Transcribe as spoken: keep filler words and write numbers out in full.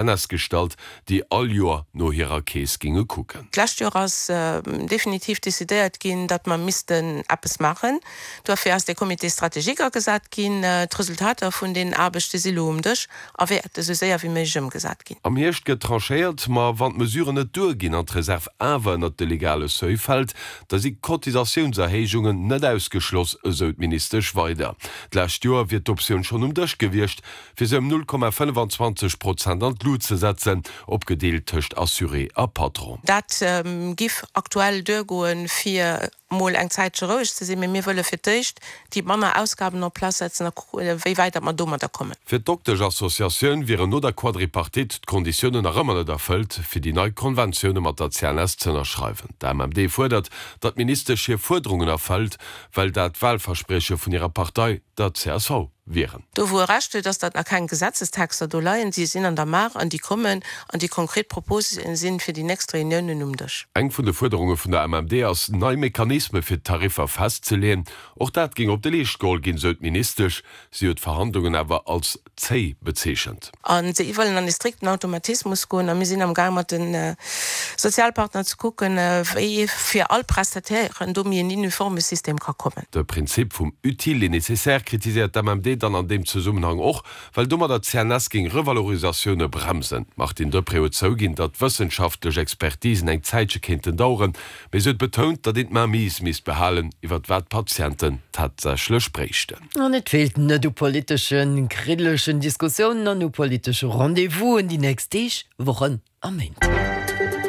C N S gestallt, déi all Joer no hirer Keess géinge kucken. D'lescht Joer ass definitiv decidéiert ginn, datt mer missten eppes maachen. Duerfir ass dee Comité stratégique agesat ginn. D'Resultater vun deenen Aarbechte si lo um Dësch a wäerte sou séier wéi méiglech ëmgesat ginn. Am Hierscht gëtt tranchéiert, ma wann d'Mesuren net duerginn an d'Reserv awer ënnert de legale Seuil fält, da si Cotisatiounserhéijungen net ausgeschloss, esou d'Ministesch weider. D'lescht Joer wier d'Optioun schonn um Dësch gewiescht, fir se ëm null Komma fënnefenzwanzeg Prozent an d'Lut ze setzen, opgedeelt tëscht Assuré a Patron. Dat giff aktuell duergoen, fir mol eng Zäitche roueg ze sinn, mee mir wëlle fir d'éischt déi manner Ausgaben en place setzen a kucken, wéi wäit datt mer domadder kommen. Fir d'Doktesch-Associatioun wieren no der Quadripartite d'Konditiounen nach ëmmer net erfëllt, fir déi nei Konventioune mat der C N S z'ënnerschreiwen. D'A M M D fuerdert, datt d'Ministesch hir Fuerderungen erfëllt, well dat Walversprieche vun hirer Partei, der C S V, wieren. Do wou e Recht huet, ass, datt nach keng Gesetzestexter do leien. Si sinn an der Maach an déi kommen an déi konkret Propose sinn fir déi nächst Reuniounen um Dësch. Eng vun de Fuerderunge vun der A M M D ass, nei Mechanisme fir d'Tariffer festzeleeën. Och dat géing op de Leescht geholl ginn, sou d'Ministesch. Si huet d'Verhandlungen awer als zéi bezeechent. A si wëllen an e strikten Automatismus goen a mir sinn am Gaang mat de Sozialpartner ze kucken, wéi fir all Prestatairen do méi en uniforme System ka kommen. De Prinzip vum utile et nécessaire kritiséiert d'A M M D dann an deem Zesummenhang och, well domadder d'C N S géing Revalorisatioune bremsen. D'Martine Deprez huet zouginn, datt wëssenschaftlech Expertisen eng Zäitche kéinten daueren, mee se huet betount, datt een d'Mainmise misst behalen, iwwer wat d'Patienten tatsächlech bréichten. An et feelt net u politeschen, kriddelegen Diskussiounen an u politesche Rendez-vousen déi nächst Deeg, Wochen a Méint.